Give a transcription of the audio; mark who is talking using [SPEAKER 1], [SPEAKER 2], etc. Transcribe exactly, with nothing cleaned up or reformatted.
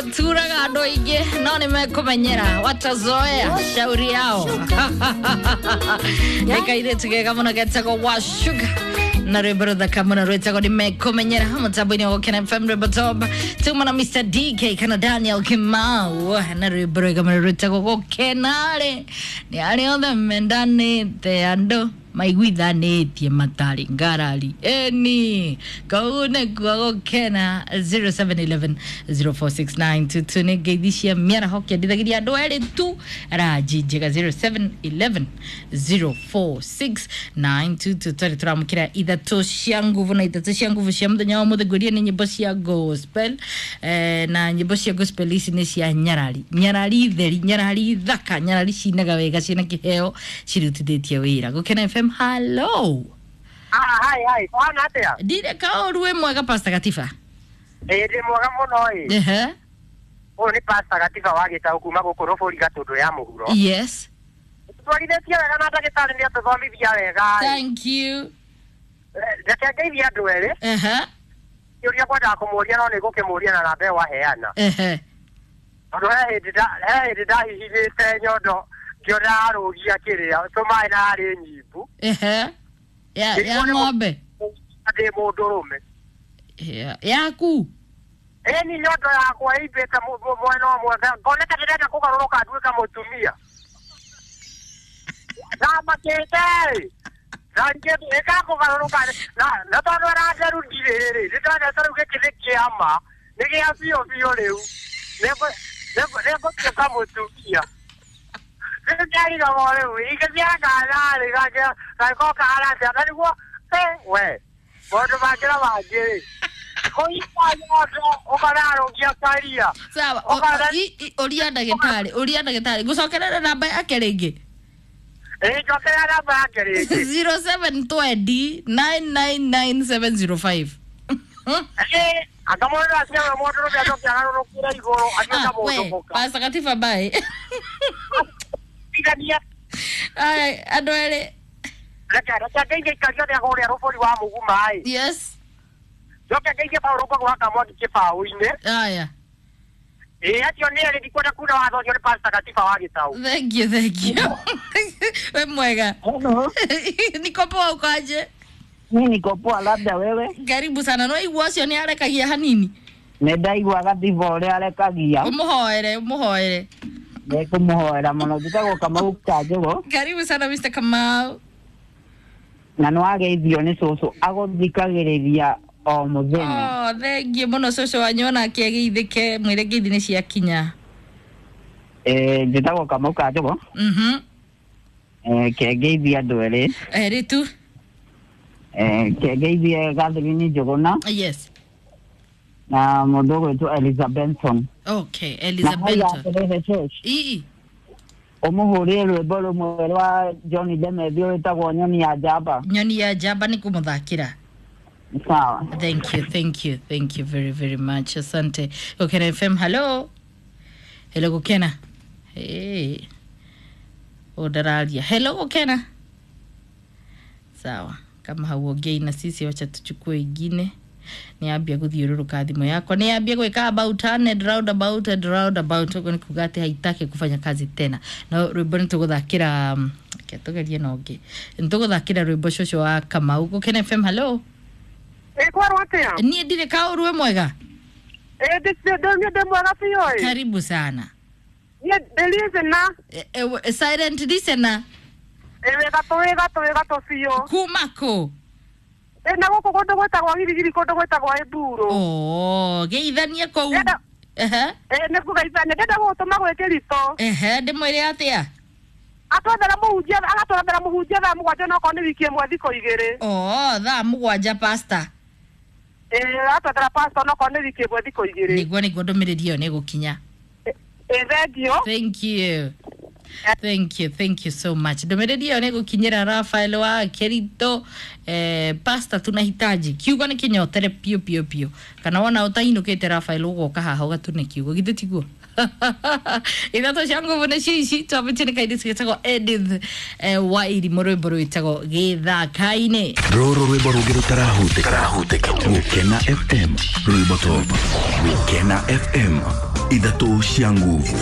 [SPEAKER 1] Turaga andå aingä no nä mekåmenyera watazoea shauri yao. Nä kairä tu kega må no getagwo wa sugar na rwĩmbo rũthaka mũno rwĩtagwo nĩ mekũmenyera mũtambo-inĩ wa Gũkena F M rwĩmbo top tuma na Mister D K kana Daniel Kimau na rwĩmbo rwega mũno rwĩtagwo gũkena-rĩ nĩ arĩa othe mendanĩte andũ maiguithanĩtie matarĩ ngarari eni kau nĩkuo gũkena. zero seven one one zero four six nine two two nĩ ngeithi cia mĩaraho kĩendithagĩria andũ erĩ tu ranji njega zero seven one one zero four six nine two two. Twarĩ tũramũkĩra ithatũ cia nguvu na ithatũ cia nguvu cia mũthenya wa ũmũthĩ ngwĩrie nĩ nyĩmbo cia gospel, eh, na nyĩmbo cia gospel ici nĩ cia nyarari, nyarari theri, nyarari thaka, nyarari cinaga wega ciĩna kĩheo cirutithĩtie wĩra. Gũkena F M, hello.
[SPEAKER 2] Ah, hai hai, kwana atia?
[SPEAKER 1] Ndire kaũru wĩ mwega Pastor Gatiba.
[SPEAKER 2] Ĩĩ ndĩ mwega mũno ĩ.
[SPEAKER 1] Ehe.
[SPEAKER 2] Ũyũ nĩ Pastor Gatiba wa Gĩtaũ kuma gũkũ Rũbũri Gatũndũ ya mũhuro.
[SPEAKER 1] Yes.
[SPEAKER 2] Twarithĩtie wega na ndagĩtarĩ nĩ atũthomithia wega ĩ.
[SPEAKER 1] Thank you.
[SPEAKER 2] Reke ngeithie andũ erĩ.
[SPEAKER 1] Ehe.
[SPEAKER 2] Kĩũria kwendaga kũmũria no nĩ ngũkĩmũria na namba ĩyo waheana.
[SPEAKER 1] Ehe.
[SPEAKER 2] Tondũ he hĩndĩ nda- he hĩndĩ ndahihinyĩte nyondo ngĩona arũgia kĩrĩa tũmaĩ na arĩ nyimbu.
[SPEAKER 1] Ehe. Ya ya ng'ombe.
[SPEAKER 2] Ndĩ mũndũrũme.
[SPEAKER 1] Ya- Yaku.
[SPEAKER 2] Ĩni nyondo yakwa ĩimbĩte mu- mu- mwena ũmwe ngoneka ndĩrenda kũgarũrũka nduĩka mũtumia. Ndamakĩte ĩ. Ĩkakũgarũrũka na na tondũ aranderutire rĩ nĩndonete rĩu gĩkĩ nĩ kĩama nĩ gĩa biũ biũ rĩu nĩngũtuĩka mũtumia. Rĩu ndarigagwo rĩu ingĩthiaga kana-rĩ gangĩkorwo kahana atĩa na nĩguo we maũndũ mangĩ na mangĩ rĩ kũimba nyondo ũkararũgia karia.
[SPEAKER 1] Sawa, o- o- i- i- ũria ndagĩtarĩ, ũria ndagĩtarĩ. Ngũcokerere namba yake rĩngĩ.
[SPEAKER 2] Ĩĩ njokerera namba yake rĩngĩ.
[SPEAKER 1] zero seven two zero nine nine nine seven zero five.
[SPEAKER 2] Ĩĩ anga mũndũ aciarwo mũndũrũme acoke agarũrũkĩre igũrũ atuĩke
[SPEAKER 1] Ah, we,
[SPEAKER 2] mũndũ mũka.
[SPEAKER 1] Pastor Gatiba bye.
[SPEAKER 2] Tigania.
[SPEAKER 1] Aya, andũ erĩ.
[SPEAKER 2] Reke reke ngeithie aikari othe a kũrĩa Rũbũri wa Mũguma ĩ.
[SPEAKER 1] Yes.
[SPEAKER 2] Njoke ngeithie Paũlũ Ngũgũ wa Kamwangi kĩbaũ-inĩ.
[SPEAKER 1] Aya.
[SPEAKER 2] Ĩĩ acio nĩ erĩ ndikwenda kuna watho ũcio nĩ Pastor Gatiba wa Gĩtaũ.
[SPEAKER 1] Thank you, thank you. We mwega.
[SPEAKER 3] Hello.
[SPEAKER 1] Niko poa uko aje?
[SPEAKER 3] Mimi niko poa, labda wewe.
[SPEAKER 1] Karibu sana. No igua ũcio nĩ arekagia hanini.
[SPEAKER 3] Nĩ ndaigua Gatiba ũrĩa arekagia.
[SPEAKER 1] Ũmũhoere, ũmũhoere.
[SPEAKER 3] Nĩngũmũhoera mũno. Njĩtagwo Kamau Kanjũgũ.
[SPEAKER 1] Karibu sana Mister Kamau.
[SPEAKER 3] Na nĩwageithio nĩ cũcũ agũthikagĩrĩria o mũthenya.
[SPEAKER 1] Oh, thank you mũno cũcũ wanyu onake ageithĩke mwĩre ngeithi nĩ ciakinya.
[SPEAKER 3] Eh, njĩtagwo Kamau Kanjũgũ.
[SPEAKER 1] Mhm.
[SPEAKER 3] Eh, kengeithie andũ erĩ.
[SPEAKER 1] Erĩ tu.
[SPEAKER 3] Eh, kengeithie Catherine Njũgũna
[SPEAKER 1] Yes.
[SPEAKER 3] na mũndũ ũgwĩtwo Eliza Benson.
[SPEAKER 1] Okay,
[SPEAKER 3] Na
[SPEAKER 1] Eliza
[SPEAKER 3] hau
[SPEAKER 1] Benson.
[SPEAKER 3] atĩrĩrĩ church.
[SPEAKER 1] Ii.
[SPEAKER 3] Ũmũhũrĩre rwĩmbo rũmwe rwa John Demethew rwĩtagwo Nyoni ya Njamba.
[SPEAKER 1] Nyoni ya Njamba nĩ kũmũthakĩra.
[SPEAKER 3] Sawa.
[SPEAKER 1] Thank you, thank you, thank you very, very much. Asante. Gũkena F M, hello. Hello Gũkena. Hey. Ũndararia. Hello Gũkena. Sawa. Kama hauongei na sisi wacha tuchukue ingine. Niambia guthiũrũrũka thimũ yakwa. Niambia gwĩka about and round about and round about. Ũguo nĩ kuga atĩ haitaki kufanya kazi tena. No rwĩmbo nĩ tũgũthakĩra um, reke tũgerie na ũngĩ. Nĩ tũgũthakĩra rwĩmbo cũcũ wa Kamau. Gũkena F M, hello.
[SPEAKER 2] Ĩĩ kwerwo atĩa?
[SPEAKER 1] Niĩ ndirĩ kaũru wĩ mwega.
[SPEAKER 2] Ĩĩ ndĩ ndĩ ndĩ mwega biũ ĩ.
[SPEAKER 1] Karibu sana.
[SPEAKER 2] Niĩ ndĩ listener.
[SPEAKER 1] E, e, silent listener.
[SPEAKER 2] Ĩĩ wĩ gatũ wĩ gatũ wĩ gatũ biũ.
[SPEAKER 1] Kuma kũ?
[SPEAKER 2] Ĩĩ na gũkũ kũndũ gwĩtagwo Girigiri kũndũ gwĩtagwo Ĩmburu.
[SPEAKER 1] Oh, geithanie kũu.
[SPEAKER 2] Ndĩrenda
[SPEAKER 1] Ehe.
[SPEAKER 2] ĩĩ nĩ kũgeithania ndĩrenda gũgũtũma gwĩ Kĩritũ.
[SPEAKER 1] Ehe, ndĩmwĩre atĩa?
[SPEAKER 2] Atwethera mũhunjia agatwethera mũhunjia thaa mũgwanja na okorwo nĩ wiki ĩmwe thikũ igĩrĩ.
[SPEAKER 1] Oh, thaa mũgwanja pastor.
[SPEAKER 2] Ĩĩ atwethera pastor na okorwo nĩ wiki ĩmwe thikũ igĩrĩ.
[SPEAKER 1] Nĩguo nĩguo ndũmĩrĩri ĩyo nĩ ĩgũkinya.
[SPEAKER 2] Ĩĩ thengiũ.
[SPEAKER 1] Thank you. Thank you, thank you so much. Ndũmĩrĩri ĩyo nĩ gũkinyĩra Rafael wa Kerito. Eh, pasta tunahitaji kiugo nĩ kĩnyotere piũ piũ piũ, kana wona ũtainũkĩte Rafael ũgoka haha ũgatune kiugo, githĩ tiguo? Ithatũ cia nguvu nĩ ciici twambĩtie nĩ kairĩtu gĩtagwo Edith eh, wa irimũ, rwĩmbo rwĩtagwo gĩthaka-inĩ.
[SPEAKER 4] Rũrũ rwĩmbo rũngĩ rũtarahutĩka. Gũkena F M, rwĩmbo top. Gũkena F M, ithatũ cia nguvu.